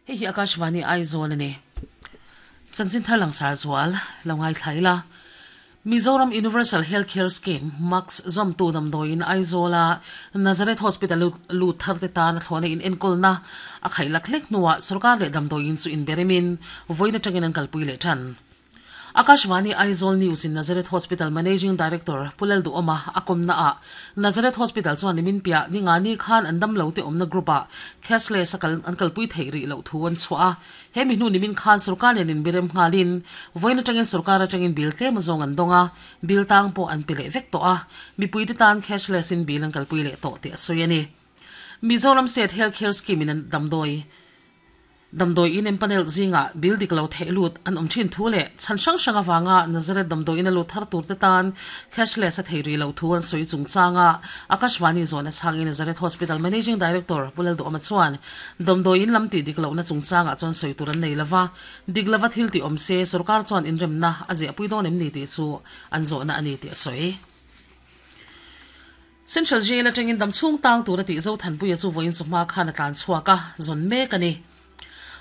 Hei hi Akashvani Aizawl a ni. Chanchin thar langsar zual lo ngaithla ila. Mizoram Universal Health Care Scheme, MACS, zawmtu damdawiin Aizawla Nazareth Hospital lut thar te tan a thlawhna in enkawlna a khaih lak hlek hnuah sorkar leh damdawiin chu inberemin vawiin atangin an kalpui leh tan. Akashvani Aizawl News in Nazareth Hospital Managing Director Pu Lalduhawma a kawmna ah Nazareth Hospital chuan nimin piah ni nga ni khan an damlo te awmna group ah cashless a kal an kalpui theih rih loh thu an chhuah a. He mi hnu nimin khan sorkar nen inbirem nghalin vawiin atangin sorkar atangin bill tlem azawng an dawng a, bill tang pawh an pe leh vek tawh a, mipui te tan cashless in bill an kalpui leh tawh tih a sawi a ni. Mizoram State Health Care Scheme in an damdawi. Damdawi in empanel zingah bill dik lo theih lut an awm thin thu leh chhan hrang hrang avanga Nazareth damdawi in a lut thar tur te tan cashless a thei rih loh thu an sawi chungchanga Akashvani zawhna chhangin Nazareth Hospital Managing Director Pu Lalduhawma chuan damdawi in lam tih dik lohna chungchangah chuan sawi tur an nei lova, dik lova thil tih awm se sorkar chuan inremna a ziahpui dawn em ni tih chu an zawhna a ni tih a sawi. Central Jail atangin damchhung tang tura tih Zothanpuia chu vawiin chawhma khan a tlan chhuak a, zawn mek a ni.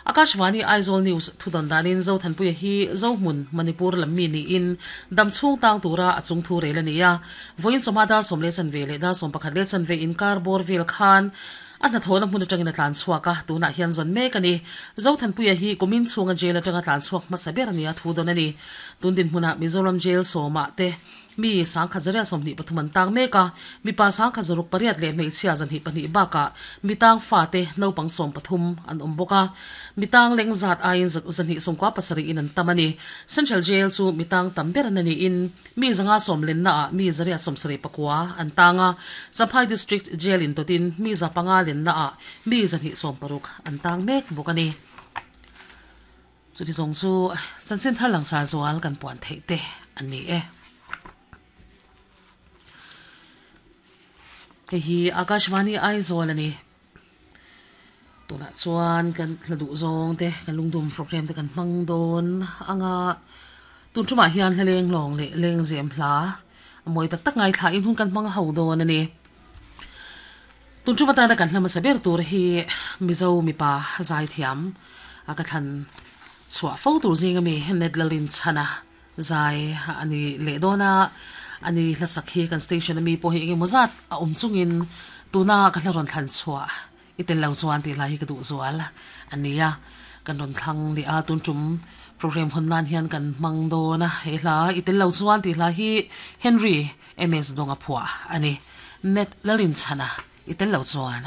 Akashvani Aizawl News thudawn danin Zothanpuia hi Zohmun, Manipur lam mi niin damchhung tang tura a chung thu rel a ni a. Vawiin chawhma dar 11 leh dar 11:15 inkar bawr vel khan a hnathawhna hmun atangin a tlan chhuak a, tunah hian zawn mek a ni. Zothanpuia hi kumin chhunga jail atanga tlan chhuak hmasa ber a nia thudawn a ni. Tun dinhmunah Mizoram Jail sawmah te Mi sangkhat zariat 23 an tang mek a, mipa sangkhat 68 leh hmeichhia 202 bakah mi tang fate naupang 13 an awm bawk a. Mi tang leng zat aiin 297 in an tam a ni. Central Jail chu mi tang tam ber an a niin mi zanga sawm lenna ah mi zariat 79 an tang a, Champhai District Jail in dawtin mi 500 lenna ah mi 260 an tang mek bawk a ni. Chuti zawng chu chanchin thar langsar zual kan puan theih te an ni e. Hei hi Akashvani Aizawl a ni. Tunah chuan kan hla duh zawng te kan lungdum program te kan hmang dawn anga tun tumah hian hla leng lawng leh lengzem hla a mawi tak tak ngaithla in hun kan hmang ho dawn a ni. Tun tum atana kan hla hmasa ber tur hi Mizo mipa zaithiam a ka thlan chhuah fo tur zing ami Ned Lalrinchhana zai a ni leh dawn a, a ni hlasak hi kan station ami pawh hi engemaw zat a awm chungin tuna ka hla rawn thlan chhuah I tel lo chuan tih lai hi ka duh zual a nia. Kan rawn thlang leh a, tun tum program hawn nan hian kan hmang dawn a. He hla I tel lo chuan tih hla hi Henry MS Dawnga phuah a ni. Net Lalinchhana I tel lo chuan.